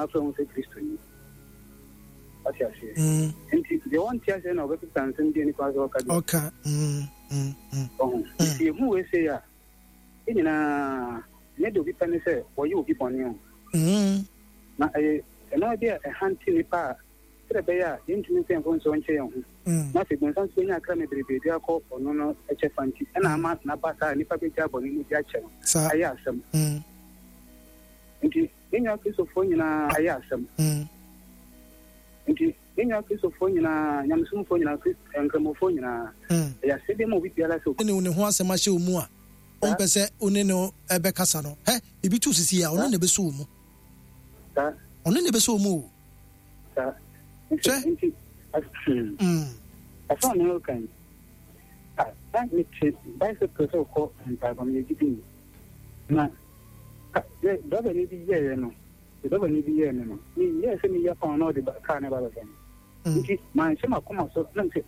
na afrɛ ho sɛ Kristoni. Wate aseɛ? Nti deɛ wɔnte aseɛ na ɔbɛkeka nsɛm bi a nipa sɛ ɔka deɛ. Ɔka. Ɔho. Nti yɛhu wei sei a, yɛn nyinaa, ɛnyɛ deɛ obi pɛ ne sɛ wɔyɛ obi bɔne o. Na ɛyɛ nnoɔma bi a ɛhante nnipa a sɛdeɛ ɛbɛyɛ a yɛntumi mfa yɛn mfomsoɔ nkyɛ yɛn ho. Na afei bonsam nso bɛnya akra bebrebe de akɔ ɔno no kyɛfa nti, ɛna ama no aba saa a nnipa bɛgyaa bɔne mu de akyɛ no ayɛ asɛm. Nti yɛn nua Kristofoɔ nyinaa ayɛ asɛm. Nti yɛn nua Kristofoɔ nyinaa, nyamesomfoɔ nyinaa, Nkramofoɔ nyinaa, ɛyɛ asɛdeɛ ma obi biara sɛ. Ne ne ho asɛm ahyɛ wo mu a, wompɛ sɛ wo ne no bɛkasa no, hɛ, biribi to sisi a, ɔno na ɛbɛsɔ wo mu. Ɔno na ɛbɛsɔ wo mu o. Saa. Nti, nti, hmm. Asɛm a mewɔ kan yi, na mete bicycle sɛ kɔ mpaebɔ meyɛ gyidi ni. Na driver ni bi yɛeɛ no, driver ni bi yɛɛ me no, meyɛɛ sɛ meyɛ pɔn na ɔde kaa no ba bɛfa me. Nti, manhyɛ m'akoma so na mese,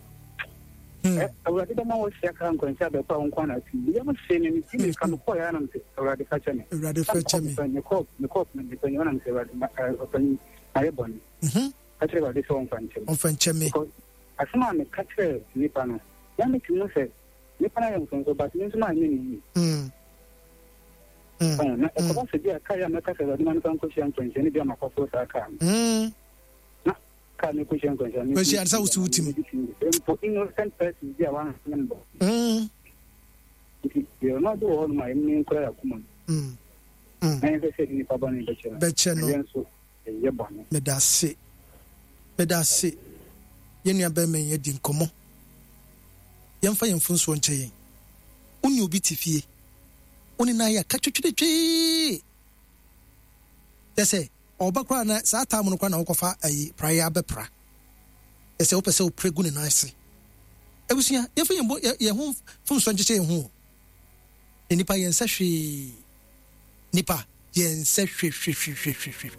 Awurade bɛma wɔahyia kaa nkwanhyia abɛkɔ a wo nko na ati. Meyam hyee me, meti mirika mekɔɔ yɛ na mese, Awurade fa kyɛ me. Awurade fa kyɛ me. Mekɔɔ mekɔɔ mpanyin hɔ na mese, Awurade ɔpanyin mayɛ bɔne. Ka kyerɛ Awurade sɛ ɔmfa nkyɛ me. Ɔmfa nkyɛ me. Because asɛm a meka kyerɛɛ nipa no, na metumi hu sɛ nipa no ayɛ mfomso but me nso manyɛ no yie. Na ɛkɔba sɛ bi a kaa yi a mɛka sɛ Awurade ma mefa nkɔhyia nkwanhyia no bi a makɔforo saa kaa no. Na kaa no kɔhyia nkwanhyia no. Kɔhyia sɛ wosi wo tim. Mpo innocent person bi a wanyɛ me bɔne. Nti deɛ ɔno ade wɔ hɔ nom a ɛmu nkura yɛ akoma mu. Na yɛn sɛ nipa bɔne bɛkyɛ no. Bɛkyɛ no. Yɛn nso ɛyɛ bɔne. Meda ase. Meda ase. Yɛn nua bɛrima yi adi nkɔmmɔ. Yɛmfa yɛn mfomsoɔ nkyɛ yɛn. Wo ne obi te fie. Wo ne no ayɛ aka twetwetwee. Kyɛ sɛ ɔba koraa na saa time no koraa na wokɔfa ayi praeɛ abɛpra. Kyɛ sɛ wopɛ sɛ wopra gu ne nan ase. Abusua, yɛmfa yɛn bɔ yɛn ho mfomsoɔ nkyekyɛ yɛn ho o. Na nipa yɛnsɛ hwee. Nipa yɛnsɛ hwehwehwehwehwɛ.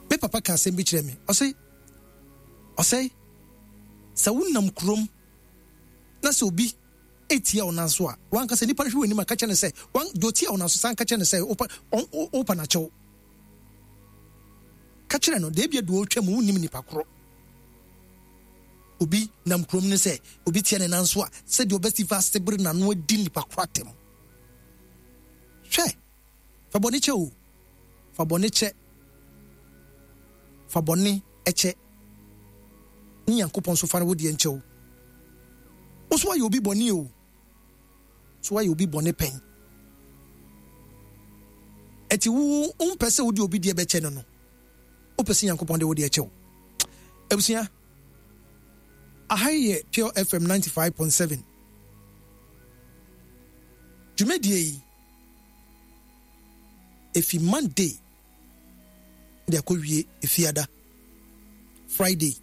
Me papa ka asɛm bi kyerɛ me. Ɔse, ɔsɛe, sɛ wonam kurom na sɛ obi etia wo nan so a, wankasa nipa no hwɛ w'anim a ka kyerɛ no sɛ, wan, deɛ ɔtia wo nan so san ka kyerɛ no sɛ wopa, wopa no akyɛw. Ka kyerɛ no, deɛ ebia deɛ ɔretwa mu wonnim nipa korɔ. Obi nam kurom no sɛ obi tia ne nan so a, sɛdeɛ ɔbɛsi fa asebere n'ano adi nipa korɔ atɛm. Hwɛ! Fa bɔne kyɛ o. Fa bɔne kyɛ. Fa bɔne kyɛ. Ne Nyankopɔn nso fa wo deɛ nkyɛ wo. Wo so woayɛ obi bɔne o. So woayɛ obi bɔne pɛn? Ɛti wo wompɛ sɛ wode obi deɛ bɛkyɛ no no, wopɛ sɛ Nyankopɔn de wo deɛ kyɛ wo. Abusua, aha yi yɛ Pure FM 95.7. Dwumadie yi, efi Monday de akɔwie Efiada, Friday.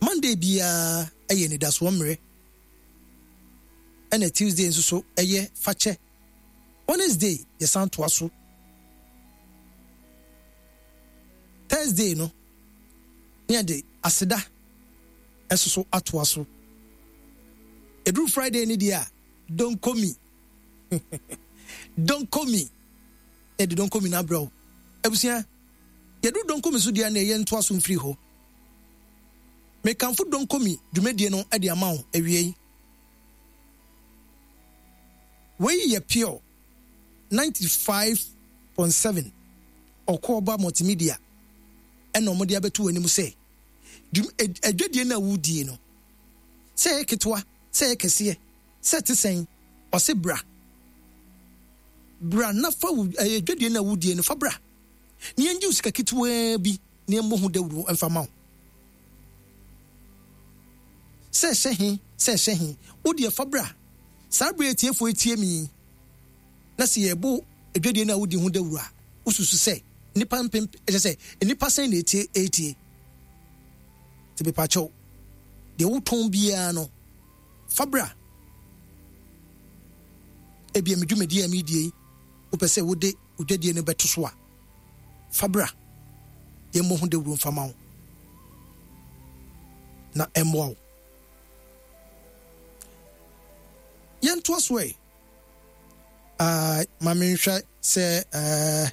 Monday biara yɛ anidasoɔ mmerɛ, ɛna Tuesday nso so yɛ fakyɛ. Wednesday yɛsan toa so. Thursday no, ne yɛde aseda nso so atoa so. Ɛduru Friday no deɛ a, donkomi. Donkomi. Yɛde donkomi no abrɛ wo. Abusua, yɛduru donkomi so deɛ a na ɛyɛ ntoa so mfiri hɔ. Mekamfo donkomi dwumadie no de ama wo awiei. Wei yɛ Pure 95.7 Ɔkoɔba Multimedia ɛna wɔde abɛto w'anim sɛ dwum adwadie no a wodie no, sɛ ɛyɛ ketewa, sɛ ɛyɛ kɛseɛ, sɛ ɛte sɛn, ɔse bra. Bra na fa wo ɛyɛ dwadie no a wodie no fa bra. Na yɛngye wo sika ketewaa bi na yɛmmɔ ho dawuro mfa ma wo. Sɛ ɛhyɛ he, sɛ ɛhyɛ he, wo deɛ fa bra. Saa berɛ a atiefoɔ yi tie me yi, na sɛ yɛbɔ adwadie no a wodi ho dawuro a, wosusu sɛ nnipa mpem, ɛkyɛ sɛ nnipa sɛn na etie etie? Nti mepakyɛw, deɛ wotɔn biara no, fa bra. Ebia me dwumadie a meredie yi, wopɛ sɛ wode wo dwadie no bɛto so a, fa bra. Yɛmmɔ ho dawuro mfa ma wo na ɛmmoa wo. Yɛntoa so ɛ. Uh, ma menhwɛ sɛ uh, eh,